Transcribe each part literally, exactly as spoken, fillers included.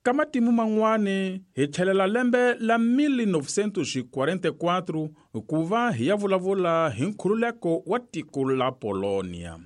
Ka matimu man'wani hi tlhelela lembe la mil novecentos e quarenta e quatro ku va hi ya vulavula hi nkhululeko wa tiko la Polonia.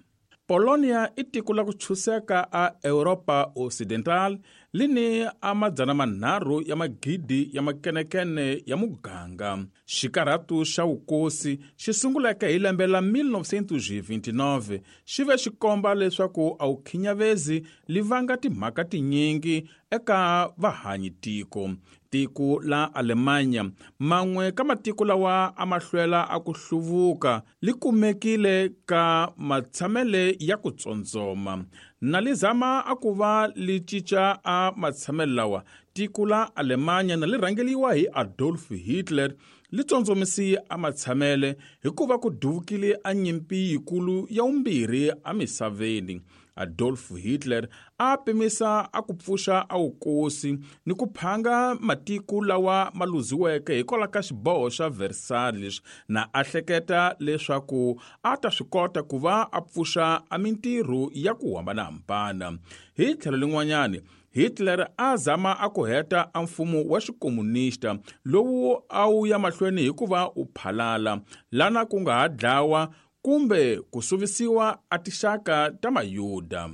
Polonia i tiko la ku tshuseka a Europa Ocidental lini a madzana manharhu ya magidi ya makenekene ya muganga. Xikarhatu xa vukosi xi sunguleke hi lembe la mil novecentos e vinte e nove xi ve xi komba leswaku a wu khinyavezi li vanga timhaka tinyingi eka vahanyi tiko. Tiko la Alemanya man'we ka matiko lawa a ma hlwela a ku hluvuka li kumekile ka matshamele ya ku tsondzoma. Na li zama a ku va li cinca a matshamele lawa, tiko la Alemanya na li rhangeliwa hi Adolf Hitler li tsondzomisi a matshamele hikuva ku duvukile a nyimpi yikulu ya vumbirhi emisaveni. Adolf Hitler a pimisa a ku pfuxa a wukosi ni ku phanga matiko lawa ma luziweke hikwalaho ka xiboho xa Versailles, na a hleketa leswaku a ta swi kota ku va a pfuxa a mintirho ya ku hambanahambana. Hi tlhelo lin'wanyani, Hitler a zama a ku heta a mfumo wa xikomunista lowu a wu ya mahlweni hikuva u phalala lana ku nga ha dlawa kumbe ku suvisiwa a tixaka ta Mayuda.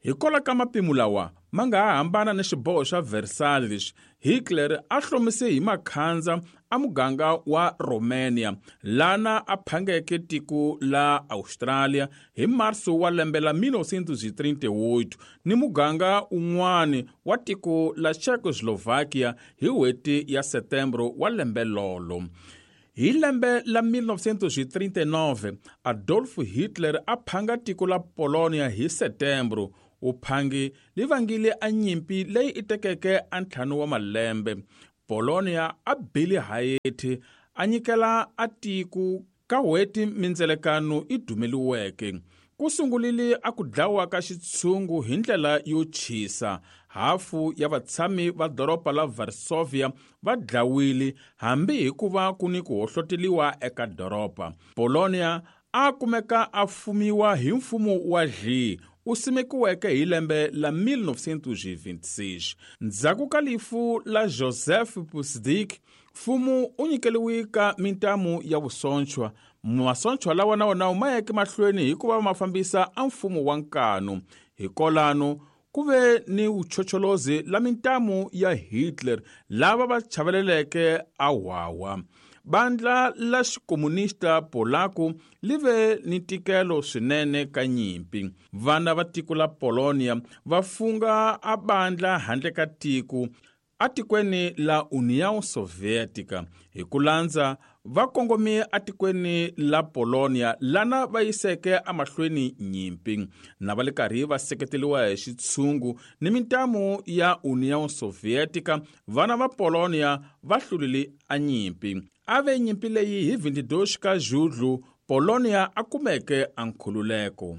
Hikwalaho ka mapimo lawa ma nga ha hambana ni xiboho xa Versailles, Hitler a hlomise hi makhandza a muganga wa Romania lana a phangeke tiko la Australia hi marso wa lembe la mil novecentos e trinta e oito ni muganga un'wani wa tiko la Czechoslovakia hi n'hweti ya Setembro wa lembe lolo. Hi lembe la mil novecentos e trinta e nove, Adolf Hitler a phanga tiko la Polonia hi Setembro. Uphangi li vangile a nyimpi leyi i tekeke a ntlhanu wa malembe. Polonia a bile hayeti a nyikela a tiko ka n'hweti mindzelekano i dumeliweke. Ku sungulile a ku dlawa ka xitshungu hi ndlela yo chisa. Hafu ya vatshami va doroba la Varsovia va dlawile hambi hikuva ku ni ku hohloteliwa eka doroba. Polonia a kumeka a fumiwa hi mfumo wa Dli u simekiweke hi lembe la mil novecentos e vinte e seis. Ndzhaku ka lifu la Joseph Pusdik, mfumo u nyikeliwe ka mintamu ya vusonchwa. Masochwa lawa na wona ma yeke mahlweni hikuva ma fambisa a mfumo wa nkanu. Hikolano ku ve ni vuchocholozi la mintamu ya Hitler lava va chaveleleke a wawa. Bandla la xikomunista Polaku li ve ni ntikelo swinene ka nyimpi. Vana va tiko la Polonia va funga a bandla handle ka tiko atikweni la União Soviética. Hi ku landza va kongome atikweni la Polonia lana va yiseke emahlweni nyimpi na va le karhi va seketeriwa hi xitshungu ni mintamu ya União Soviética. Vana va Polonia va hlulile a nyimpi. A ve nyimpi leyi hi vinte e dois ka Julho, Polonia a kumeke a nkhululeko.